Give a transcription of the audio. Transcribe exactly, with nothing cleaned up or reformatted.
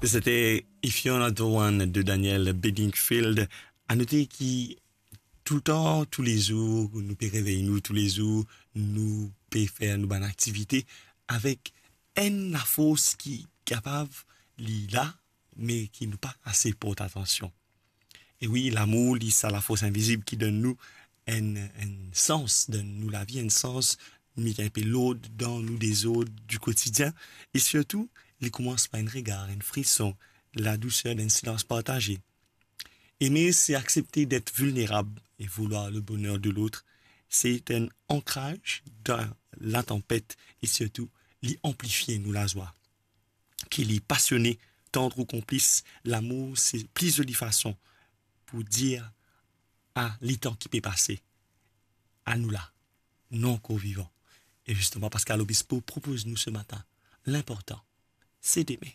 Sete If You're Not The One de Daniel Bedingfield. A note ki toultan, toulezour, nou pe revey nou, toulezour, nou pe fer nou bann aktivite avek enn lafors ki kapav li la, me ki nou pa ase port atansion. E wi, lamour, li sa lafors invizib ki donn nou enn, enn sans, donn nou lavi, enn sans, met inpe lord dan nou dezord di kotidien. E sirtou, li koumans par enn regar, enn frison, ladouser d'enn silans partaze. Aimer, c'est accepter d'être vulnérable et vouloir le bonheur de l'autre. C'est un ancrage dans la tempête et surtout, li anplifie nou lazwa. Ki li pasione, tandr ou konplis, lamour, se pli zoli fason pou dir a letan ki pe pase, a nou la, nou ankor vivan. E zisteman, Pascal Obispo propoz nou se matin, linportan, se deme.